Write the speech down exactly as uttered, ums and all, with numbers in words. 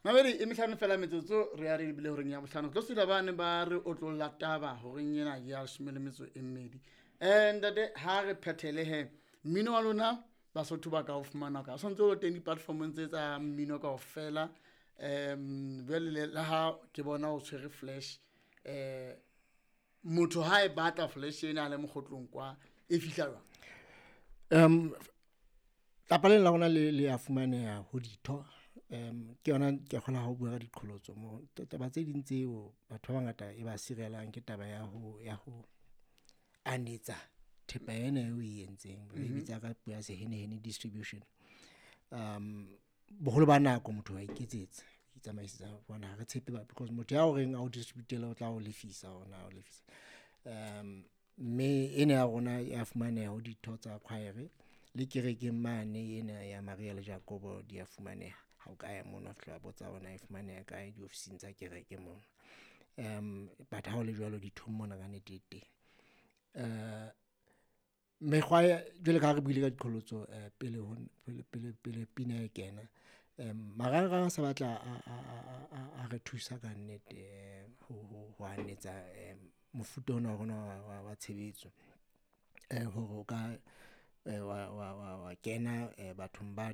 Mamedi e mehlano fela metsotso re ya re lebile horeng ya bohlano. Re tlo sula bane ba re otlolla taba horeng ena ya leshome le metso e mmedi. Um ntate, ha re phethele he, mmino wa lona Basotho ba ka o fumana ka o santse o le teng di-platformong tse tsa mmino kaofela. Um jwale le le ha ke bona o tshwere flash, um motho ha e batla flash ena a le mokgotlong kwa e fihla jwang? Um tlapa lena la rona le le a fumaneha ho ditho. Um ke yona ke a kgolwa ha o bua ka diqholotso moo. Taba tse ding tseo batho ba bangata e ba sirelang ke taba ya ho ya ho anetsa thepa ena eo oe entseng. Re e bitsa ka puo ya sehenehene distribution. Um Boholo ba nako motho wa iketsetsa, o itsamaisetsa hobane ha re tshepe because motho ya o reng ao distribute-ele o tla o lefisa hore na o lefisa. Um Mme ena ya rona ya fumaneha ho ditho tsa choir-e le kerekeng mane ena ya Maria le Jakobo di a fumaneha. Ha o ka ya mono wa fihla wa botsa hore na e fumaneha kae diofising tsa kereke mono. Um But ha ho le jwalo dithong mona kannete e teng. Eh mekgwa ya, jwalo ka ha re buile ka diqholotso pele ho pele pele pele pina e kena, marangrang a sa batla a a a a re thusa kannete ho ho ho anetsa mofuta ona wa rona wa wa wa tshebetso hore o ka wa wa wa wa kena bathong ba .